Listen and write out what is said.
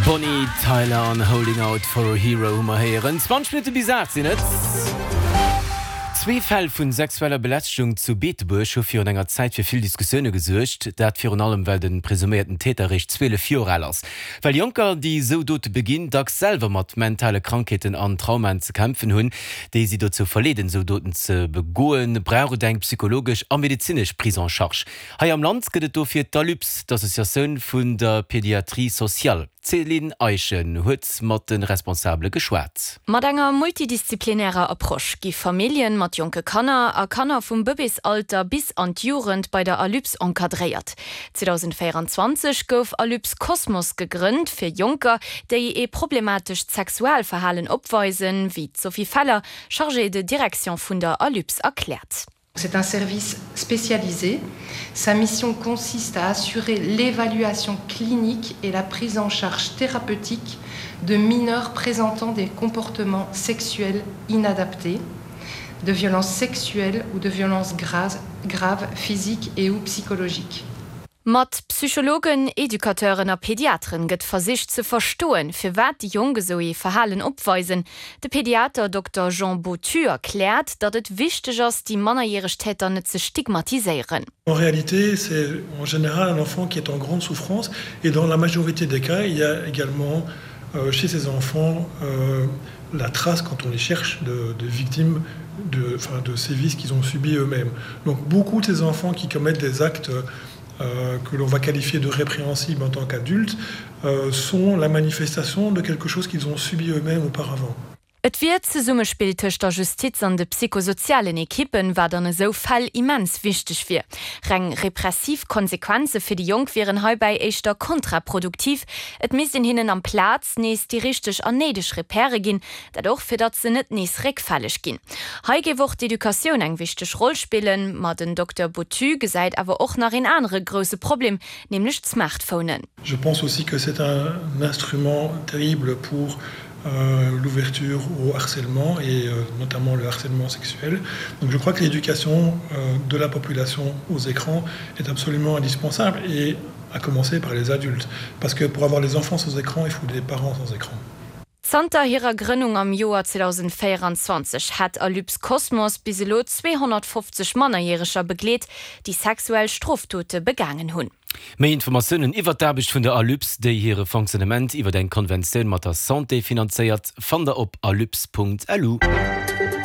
Bonnie Tyler an Holding Out For A Hero hu mer héieren. 20 Minutte bis 8 sinn et. Zwee Fäll vu sexueller Belästegung zu Beetebuerg hu virun enger Zäit fir vill Diskussioune gesuergt. Dat virun allem, well de presuméierten Täter eréischt 12 Joer al ass. Well Jonker, déi esou Dote beginn, dacks selwer mat mentale Krankheeten an Traumaen ze kämpfen hunn, déi si dozou verleeden, esou Doten ze begoen, brauch et eng psychologesch a medezinesch Prise en charge. Hei am Land gëtt et dofir d'ALUPS, d'Associatioun vun der Pédiatrie sociale. D'Céline Eischen huet mat de Responsabele geschwat. Mat enger multidisziplinärer Approche gi Familljen mat jonke Kanner a Kanner vum Bëbeesalter bis an d'Jugend bei der ALUPS encadréiert. 2024 gouf ALUPS Cosmos gegrënnt, fir Jonker, déi ee problematescht Sexualverhalen opweisen, wéi d'Sophie Feller, Chargée de direction vun der ALUPS erkläert. C'est un service spécialisé. Sa mission consiste à assurer l'évaluation clinique et la prise en charge thérapeutique de mineurs présentant des comportements sexuels inadaptés, de violences sexuelles ou de violences graves, graves physiques et ou psychologiques. Mat Psychologen, Educateuren a Pediateren gëtt versicht ze verstoen, firwat déi Jonk esou ee Verhalen opweisen. De Pediater Dokter Jean Bottu erkläert, datt et wichteg ass, déi mannerjäreg Täter net ze stigmatiséieren. En réalité, c'est en général un enfant qui est en grande souffrance et dans la majorité des cas, il y a également chez ces enfants la trace quand on les cherche de, de victimes de, enfin, de sévices qu'ils ont subis eux-mêmes. Donc beaucoup de ces enfants qui commettent des actes euh, que l'on va qualifier de répréhensibles en tant qu'adultes euh, sont la manifestation de quelque chose qu'ils ont subi eux-mêmes auparavant. Et wier d'Zesummespill tëscht der Justiz an de psychosozialen Ekippen, wat an esou Fäll immens wichteg wier. Reng repressiv Konsequenze fir déi Jonk wieren heibäi éischter kontraproduktiv. Et misst een hinnen amplaz nees déi richteg an néideg Repèrë ginn, dat och fir datt se net nees réckfälleg ginn. Hei géif och d'Educatioun eng wichteg Roll spillen. Ma den Dokter Bottu gesäit awer och nach een anere grousse Problem, nämlech d'Smartphonen. Je pense aussi que c'est un instrument terrible pour euh, l'ouverture au harcèlement et euh, notamment le harcèlement sexuel. Donc je crois que l'éducation euh, de la population aux écrans est absolument indispensable et à commencer par les adultes parce que pour avoir les enfants sans écran, il faut des parents sans écran. Zanter hirer Grënnung am Joer 2024 hätt Alyps Cosmos bis elo 250 Mannerjäreger begleet, déi sexuell Strofdote begaangen hunn. Méi Informatiounen iwwert d'Aarbecht vun der Alyps, déi hire Fonctionnement iwwert eng Konventioun mat der Santé finanzéiert, fannt der op alyps.lu.